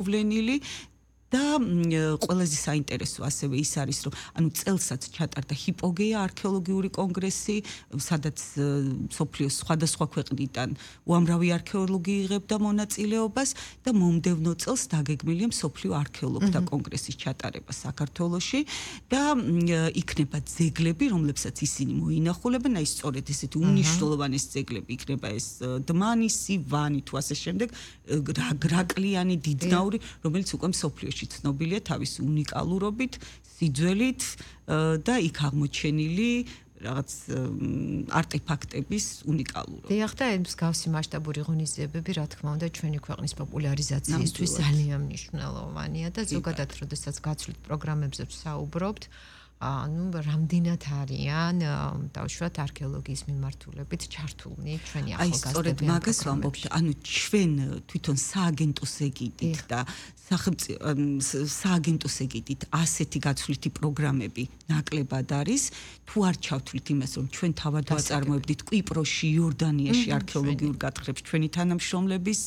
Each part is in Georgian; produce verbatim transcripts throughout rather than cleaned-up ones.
მოვლენილი და ყველაზე საინტერესო ასევე ის არის, რომ ანუ წელსაც ჩატარდა ჰიპოგეა არქეოლოგიური კონგრესი, სადაც მსოფლიოს სხვადასხვა ქვეყნიდან უამრავი არქეოლოგი იღებდა მონაწილეობას და მომდევნო წელს დაგეგმილია მსოფლიო არქეოლოგთა კონგრესის ჩატარება საქართველოში და იქნება ძეგლები, რომლებსაც ისინი მოინახულებენ, აი სწორედ ესეთი უნიშნულოვანესი ძეგლები იქნება ეს დმანი, სივანი თუ ასე შემდეგ, გრაკლიანი, დიდნაური, რომელიც უკვე მსოფლიოში ცნობილია თავის უნიკალურობით, სიძველით და იქ აღმოჩენილი რაღაც არტეფაქტების უნიკალურობით. დიახ, და ეს მსგავსი მასშტაბური ღონისძიებები, რა თქმა უნდა, ჩვენი ქვეყნის პოპულარიზაციისთვის ძალიან მნიშვნელოვანია და ზოგადად, როდესაც გაცვლით პროგრამებზე ვსაუბრობთ, ანუ რამდენად არიან დავუშვათ არქეოლოგიის მიმართულებით ჩართულნი ჩვენი ახალგაზრდები. აი, სწორედ მაგას ვამბობთ, ანუ ჩვენ თვითონ სააგენტოს ეგიდით და სააგენტოს ეგიდით ასეთი გაცვლითი პროგრამები ნაკლებად არის, თუ არ ჩავთვლით იმას, რომ ჩვენ თავად ვაწარმოებდით კვიპროსში, იორდანიაში არქეოლოგიურ გათხრებს ჩვენი თანამშრომლების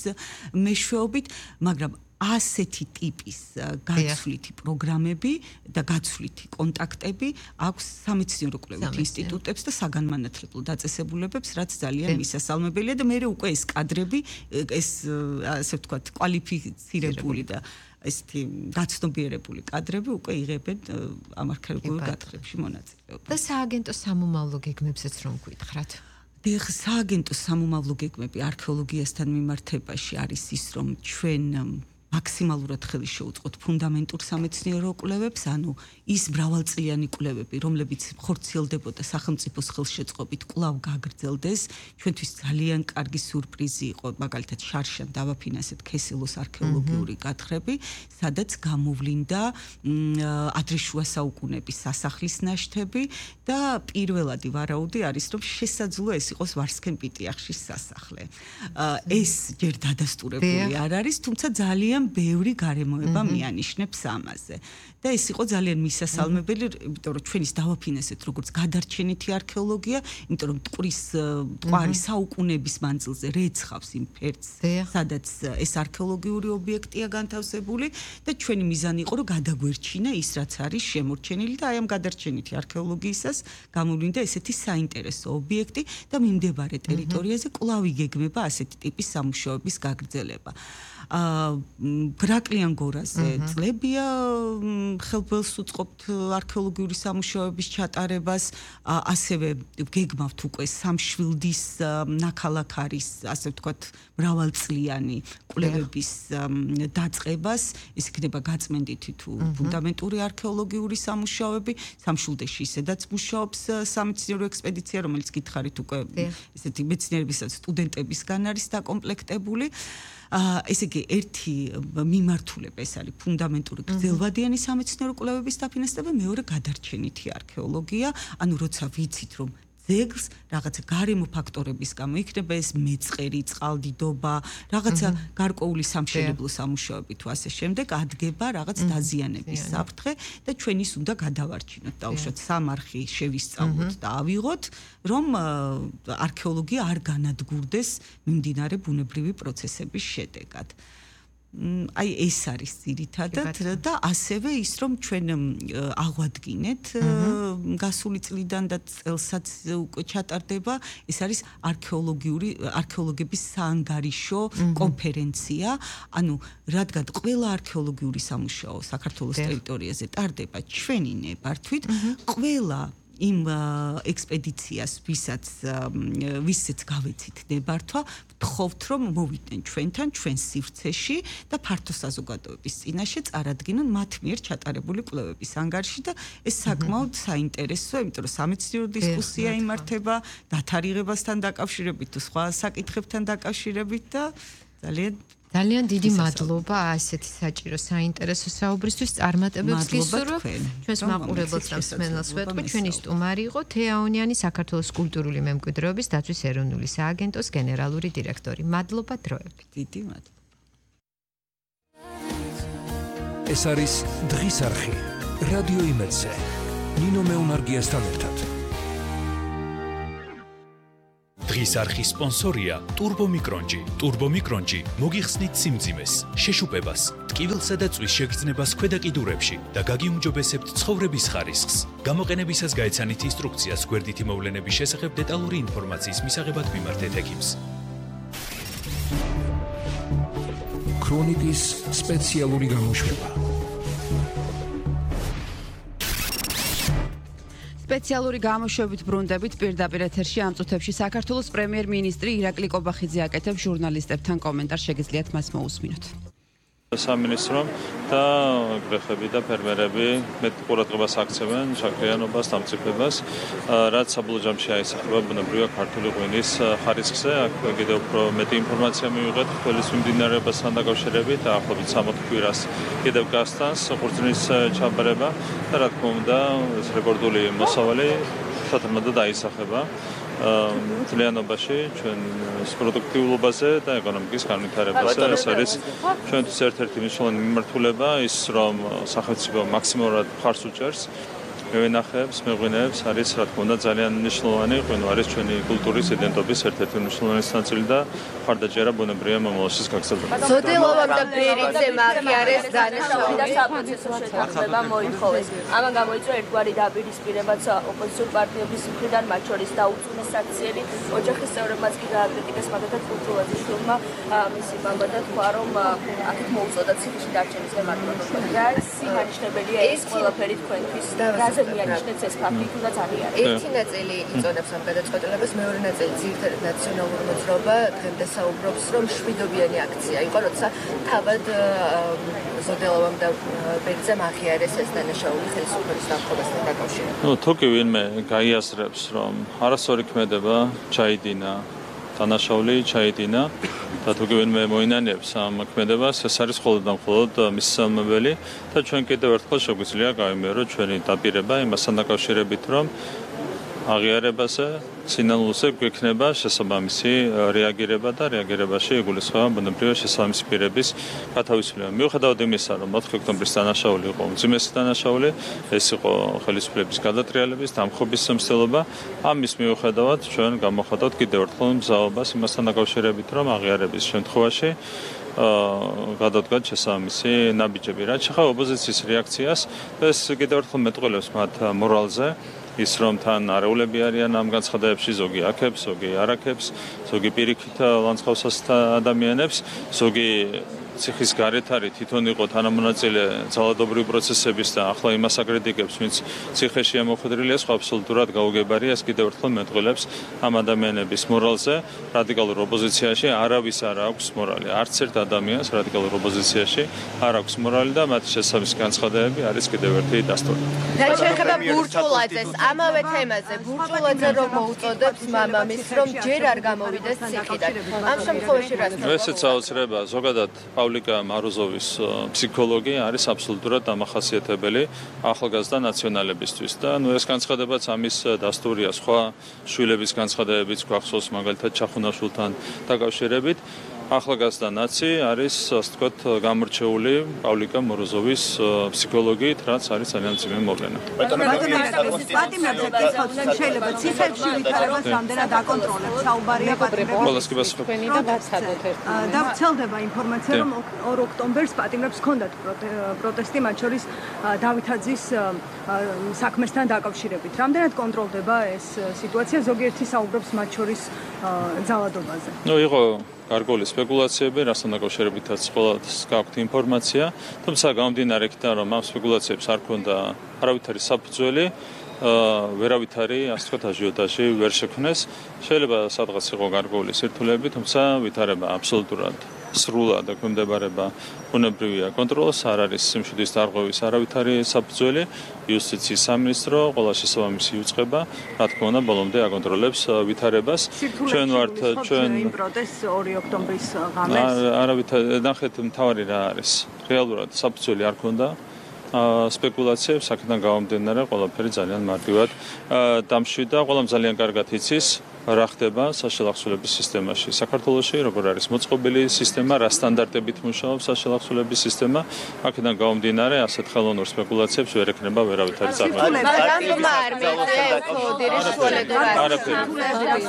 მეშვეობით, მაგრამ ასეთი ტიპის გაცვლითი პროგრამები და გაცვლითი კონტაქტები აქვს სამეცნიერო კვლევით ინსტიტუტებს და საგანმანათლებლო დაწესებულებებს, რაც ძალიან მისასალმებელია და მე უკვე ეს კადრები, ეს ასე ვთქვათ, კვალიფიცირებული და ესეთი გაცნობიერებული კადრები უკვე იღებენ ამ არქეოლოგიურ გათხრებში მონაწილეობას. და სააგენტოს სამომავლო გეგმებსაც რომ გითხრათ? დიახ, სააგენტოს სამომავლო გეგმები არქეოლოგიასთან მიმართებაში არის ის, რომ ჩვენ მაქსიმალურად ხელი შეუწყოთ ფუნდამენტურ სამეცნიერო კვლევებს, ანუ ის მრავალწლიანი კვლევები, რომლებიც ხორციელდებოდა სახელმწიფოს ხელშეწყობით, კვლავ გაგრძელდეს. ჩვენთვის ძალიან კარგი სიურპრიზი იყო, მაგალითად შარშან დავაფინანსეთ ქესელოს არქეოლოგიური გათხრები, სადაც გამოვლინდა ადრეშუა საუკუნეების სასახლის ნაშთები და პირველადი ვარაუდი არის, რომ შესაძლოა ეს იყოს ვარსქენ-პიტიახშის სასახლე. ეს ჯერ დადასტურებული არ არის, თუმცა ძალიან ბევრი გარემოება მიანიშნებს ამაზე. და ეს იყო ძალიან მისასალმებელი, იმიტომ რომ ჩვენ ის დავაფინანსეთ როგორც გადარჩენითი არქეოლოგია, იმიტომ რომ ტყვრის ტყვარი საუკუნეების მანძილზე რეცხავს იმ ფერდს, სადაც ეს არქეოლოგიური ობიექტია განთავსებული და ჩვენი მიზანი იყო, რომ გადაგვერჩინა ის, რაც არის შემორჩენილი და აი ამ გადარჩენითი არქეოლოგიისას გამოვლინდა ესეთი საინტერესო ობიექტი და მიმდებარე ტერიტორიაზე კვლავ იგეგმება ასეთი ტიპის სამუშაოების გაგრძელება. გრაკლიან გორაზე წლებია ხელბელს უწყობთ არქეოლოგიური სამუშაოების ჩატარებას, ასევე გეგმავთ უკვე სამშვილდის ნაქალაქარის, ასე ვთქვათ, მრავალწლიანი კვლევების დაწყებას, ეს იქნება გაწმენდითი თუ ფუნდამენტური არქეოლოგიური სამუშაოები, სამშვილდეში ისედაც მუშაობს სამეცნიერო ექსპედიცია, რომელიც გითხარით უკვე ესეთი მეცნიერების სტუდენტებისგან არის დაკომპლექტებული. ესე იგი, ერთი მიმართულება ეს არის ფუნდამენტური გრძელვადიანი სამეცნიერო კვლევების დაფინანსება, მეორე გადარჩენითი არქეოლოგია, ანუ როცა ვიცით, რომ ძეგლს რაღაცა გარემო ფაქტორების გამო იქნება ეს მეწყერი, წყალდიდობა, რაღაცა გარკვეული სამშენებლო სამუშაოები თუ ასე შემდეგ ადგება რაღაც დაზიანების საფრთხე და ჩვენ ის უნდა გადავარჩინოთ, დაუშვათ სამარხი შევისწავლოთ და ავიღოთ, რომ არქეოლოგია არ განადგურდეს მიმდინარე ბუნებრივი პროცესების შედეგად. აი ეს არის ძირითადად და ასევე ის რომ ჩვენ აღვადგინეთ გასული წლიდან და წელსაც უკვე ჩატარდება, ეს არის არქეოლოგიური არქეოლოგების საანგარიშო კონფერენცია, ანუ რადგან ყველა არქეოლოგიური სამუშაო საქართველოს ტერიტორიაზე ტარდება ჩვენი ნებართვით, ყველა იმ ექსპედიციას, ვისაც ვისაც გავეცით ნებართვა, ვთხოვთ, რომ მოვიდნენ ჩვენთან, ჩვენ სივრცეში და ფართო საზოგადოების წინაშე წარადგინონ მათ მიერ ჩატარებული კვლევების ანგარიში და ეს საკმაოდ საინტერესოა, იმიტომ რომ სამეცნიერო დისკუსია იმართება დათარიღებასთან დაკავშირებით თუ სხვა საკითხებთან დაკავშირებით და ძალიან ძალიან დიდი მადლობა ასეთი საჭირო საინტერესო საუბრისთვის, წარმატებებს გისურვებ. ჩვენს მაყურებელს და მსმენელს ვეთქვი, ჩვენი სტუმარი იყო თეაონიანი, საქართველოს კულტურული მემკვიდრეობის დაცვის ეროვნული სააგენტოს გენერალური დირექტორი. მადლობა დროებით. დიდი მადლობა. ეს არის დღის არხი. რადიო იმედზე. ნინო მეუნარგიასთან ერთად. დღის არხის სპონსორია ტურბო მიკრონჯი. ტურბო მიკრონჯი მოგიხსნით სიმძიმეს, შეშუპებას, ტკივილსა და წვის შეგრძნებას ქვედა კიდურებში და გაგიუმჯობესებთ ცხოვრების ხარისხს. გამოყენებისას გაეცანით ინსტრუქციას გვერდითი მოვლენების შესახებ დეტალური ინფორმაციის მისაღებად მიმართეთ ექიმს. ქრონიკის სპეციალური გამოშვება. სპეციალური გამოშვებით ბრუნდებით პირდაპირ ეთერში ამ წუთებში საქართველოს პრემიერ-მინისტრი ირაკლი კობახიძე აკეთებს ჟურნალისტებთან კომენტარს, შეგიძლიათ მას მოусმინოთ. სამინისტრომ და გრეხები და ფერმერები მეტ ყურადღებას აქცევენ შაქრიანობას, დამწიფებას, რაც საბოლოო ჯამში აისახება ბუნებრივია ქართული ღვინის ხარისხზე. აქ კიდევ უფრო მეტი ინფორმაცია მივიღეთ ყველის მიმდინარეობასთან დაკავშირებით და ახლობით სამოთხ კვირას კიდევ გასტანს ყურძნის ჩაბარება და რა თქმა უნდა ეს რეკორდული მოსავალი შეთანხმებულად აისახება მთლიანობაში ჩვენ პროდუქტიულობაზე და ეკონომიკის განვითარებაზე. ეს არის ჩვენთვის ერთ-ერთი მნიშვნელოვანი მიმართულება ის რომ სახელმწიფო მაქსიმალურად მხარს უჭერს მევენახეებს, მეღვინეებს არის რა თქმა უნდა ძალიან მნიშვნელოვანი ღვინო არის ჩვენი კულტურის იდენტობის ერთ-ერთი მნიშვნელოვანი ნაწილი და მხარდაჭერა ბუნებრივია მომავალშიც გაგრძელდება. ზოდელოვამ და ბერიძე მახიარეს დანაშაული და საპროცესო შეთანხმება მოითხოვეს. ამან გამოიწვია ერთგვარი დაპირისპირებაც ოპოზიციურ პარტიების მხრიდან, მათ შორის დაუწუნეს საქციელი ოჯახის წევრებმაც კი გააკრიტიკეს, მაგალითად კულტურაზე შვილმა მისი მამა და თქვა რომ აქეთ მოუწოდა ციხეში დარჩენის გემართლობა. რა სიმანიშნებელია ეს ყველაფერი თქვენთვის და მიაჩნდეთ ეს ფაქტი თუნდაც არის. ერთი ნაწილი იწოდებს ამ გადაწყვეტილებას, მეორე ნაწილი ძირითადად ნაციონალური მოძრაობა დღემდე საუბრობს, რომ შვიდობიანი აქცია იყო, როცა თავად ზოდელოვამ და ბერიძემ აღიარეს ეს დანაშაული ხელისუფლების დამხობასთან დაკავშირებით. ნუ თუ კი ვინმე გაიაზრებს, რომ არასწორი ქმედება ჩაიდინა, დანაშაული ჩაიდინა და თუ კი ვინმე მოინანიებს ამ ქმედებას, ეს არის მხოლოდ და მხოლოდ მისამებელი და ჩვენ კიდევ ერთხელ შეგვიძლია გავიმეოროთ ჩვენი დაპირება იმასთან დაკავშირებით, რომ აღიარებაზე, სინანულზე გვექნება შესაბამისი რეაგირება და რეაგირებაში იგულისხმება ბუნებრივია შესაბამისი პირების გათავისუფლება. მიუხედავად იმისა, რომ ოთხი ოქტომბრის დანაშაული იყო უმძიმესი დანაშაული, ეს იყო ხელისუფლების გადატრიალების, დამხობის მცდელობა, ამის მიუხედავად ჩვენ გამოხატავთ კიდევ ერთხელ მზაობას იმასთან დაკავშირებით, რომ აღიარების შემთხვევაში გადადგათ შესაბამისი ნაბიჯები. რაც შეეხება ოპოზიციის რეაქციას, ეს კიდევ ერთხელ მეტყველებს მათ მორალზე. ის რომ თან არეულები არიან ამ განცხადებებში, ზოგი აქებს, ზოგი არ აქებს, ზოგი პირიქით ლანძღავსას ადამიანებს, ზოგი ციხის გარეთ არის თვითონ იყო თანამონაწილე ძალადობრივი პროცესების და ახლა იმას აკრიტიკებს, ვინც ციხეში ამოხვედრილია, სხვა აბსოლუტურად გაუგებარია. ეს კიდევ ერთხელ მეტყველებს ამ ადამიანების მორალზე. რადიკალურ ოპოზიციაში არავის არ აქვს მორალი. არც ერთ ადამიანს რადიკალურ ოპოზიციაში არ აქვს მორალი და მათი შესაბამისი განცხადებები არის კიდევ ერთი დასტური. რაც შეეხება ბურჩულაძეს, ამავე თემაზე, ბურჩულაძე რომ მოუწოდებს მამამისს, რომ ჯერ არ გამოვიდეს ციხიდან. ამ შემთხვევაში რა თქმა უნდა? ესეც აუცილებლია. ზოგადად პავლიკა მაროზოვის ფსიქოლოგი არის აბსოლუტურად დამახასიათებელი ახალგაზრდა ნაციონალებისთვის და ნუ ეს განცხადებაც ამის დასტურია. სხვა შვილების განცხადებებიც გვახსოვს მაგალითად ჩახუნაშვილთან დაკავშირებით. ახალგაზრდა ნაცი არის ასე ვთქვათ გამორჩეული პავლიკა მოროზოვის ფსიქოლოგიით, რაც არის ძალიან მძიმე მოვლენა. პატიმრებზე გიხსოვთ, შეიძლება ციფრებში ვითარებას რამდენად აკონტროლებთ, საუბარია პატიმრებს და ვრცელდება ინფორმაცია, რომ ორ ოქტომბერს პატიმრებს ჰქონდათ პროტესტი, მათ შორის დავითაძის საქმესთან დაკავშირებით. რამდენად კონტროლდება ეს სიტუაცია, ზოგიერთი საუბრობს მათ შორის ძალადობაზე. ნუ იყო გარკვეული სპეკულაციები, რასთან დაკავშირებითაც ყველას გაქვთ ინფორმაცია, თუმცა გამომდინარე იქიდან, რომ ამ სპეკულაციებს არ ქონდა არავითარი საფუძველი, ვერავითარი, ასე ვთქვათ, აჟიოტაჟი ვერ შექმნეს. შეიძლება სადღაც იყო გარკვეული სირთულეები, თუმცა ვითარება აბსოლუტურად სრულად ექვემდებარება ბუნებრივია კონტროლს, არ არის სიმშვიდის დარღვევის არავითარი საფუძველი. იუსტიციის სამინისტრო ყველა შესაბამისი იუწყება, რა თქმა უნდა, ბოლომდე აკონტროლებს ვითარებას. ჩვენ ვართ ჩვენ იმ პროტესტს ორი ოქტომბრის ღამეს. არავითარი ნახეთ მთავარი რა არის. რეალურად საფუძველი არ ქონდა. სპეკულაციებს აქედან გამომდინარე ყველაფერი ძალიან მარტივად დამშვიდა. ყველამ ძალიან კარგად იცის რა ხდება საშელახსოვრების სისტემაში საქართველოში, როგორ არის მოწყობილი სისტემა, რა სტანდარტებით მუშაობს საშელახსოვრების სისტემა. აქედან გამომდინარე ასეთ ხელოვნურ სპეკულაციებს ვერ ექნება ვერავითარი წარმოება.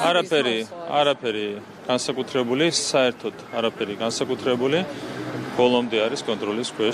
არაფერი, არაფერი განსაკუთრებული, საერთოდ არაფერი განსაკუთრებული. ბოლომდე არის კონტროლის ქვეშ